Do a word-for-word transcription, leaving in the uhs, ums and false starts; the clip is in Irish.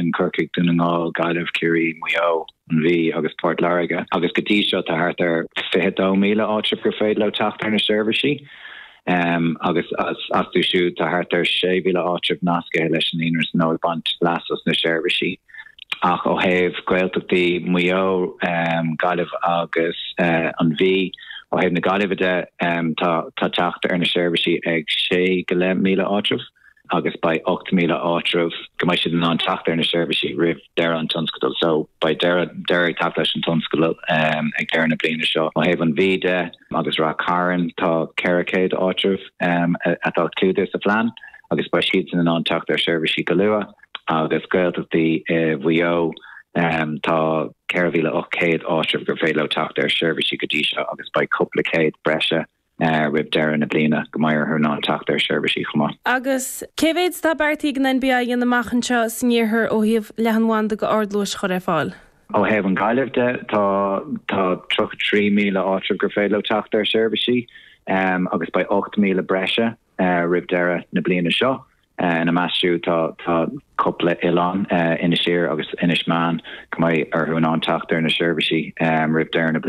sin Corcaigh Dún na nGall Gaillimh Ciarraí Maigh Eo an Mhí agus Port Láirge agus go dtí seo tá thart ar fiche dó míle áitreabh gur féidir leo teacht ar na seirbhísí. Um, agus astu siúd tá thart ar sé mhíle áitreabh nasctha leis an líonra nó ag baint leas as na seirbhísí. Ach ó thaobh Gaeltachtaí Maigh Eo um, Gaillimh agus uh, an Mhí ó thaobh na Gaillimhe de um, tá tá teacht ar na seirbhísí ag sé go leith míle áitreabh agus beidh ocht míle áitreabh go mbeidh siad in ann teacht ar na seirbhísí roimh deireadh an tionscadail so beidh deireadh deireadh ag teacht leis an tionscadal um, ag deireadh na bliana seo. Ó thaobh an Mhí de agus Ráth Cairn tá ceithre chéad áitreabh um, atá clúdaithe sa phlean agus beidh siad in ann teacht ar seirbhísí go luath agus Gaeltachtaí uh, Mhaigh Eo um, tá ceithre mhíle ocht céad áitreabh gur féidir leo teacht ar seirbhísí go dtí seo agus beidh cúpla céad breise uh, roimh deireadh na bliana go mbeidh orthu in ann teacht ar seirbhísí chomh maith. Agus cé mhéad atá beartaithe ag an NBI a dhéanamh amach anseo san iarthar ó thaobh leathanbhanda go ardluais a chur ar fáil. Ó thaobh an Ghaillimh de tá tá tríocha trí míle áitreabh gur féidir leo teacht ar seirbhísí um, agus beidh ocht míle breise uh, roimh deireadh na bliana seo. Uh, ina measc siúd tá tá cúpla oileán uh, Inis Oírr agus Inis Meáin go mbeidh orthu in ann teacht ar na seirbhísí um, roimh deireadh na bliana.